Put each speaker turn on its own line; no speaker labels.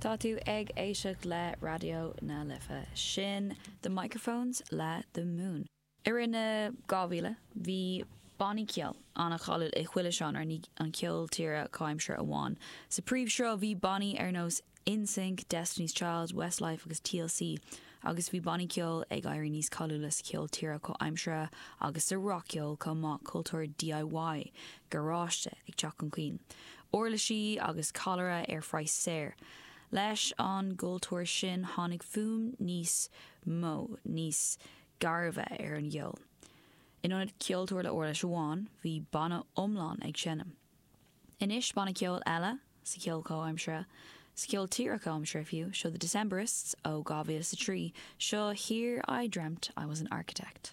Tá tú ag éisteacht le Raidió na Life. Sin The Microphones le The Moon. I rith na 2000, bhí bannaí ceoil an-cháiliúil i chuile seánra, ní an ceol tíre comhaimseartha amháin. Sa príomhshruth bhí bannaí ar nós NSYNC, Destiny's Child, Westlife agus TLC agus bhí bannaí ceoil ag éirí níos cáiliúla sa cheol tíre comhaimseartha agus sa rac-cheol chomh maith, cultúr DIY, garáiste, ag teacht chun cinn. Uirlisí agus callaire ar phraghas saor. Leis an gcultúr sin tháinig fuaim níos mó, níos gairbhe ar an gceol. In ionad ceoltóir le uirlis amháin, bhí banna iomlán ag seinm. Anois banna ceoil eile sa cheol comhaimseartha, sa cheol tíre comhaimseartha fiú, seo The Decemberists ó 2003, seo Here I Dreamt I Was An Architect.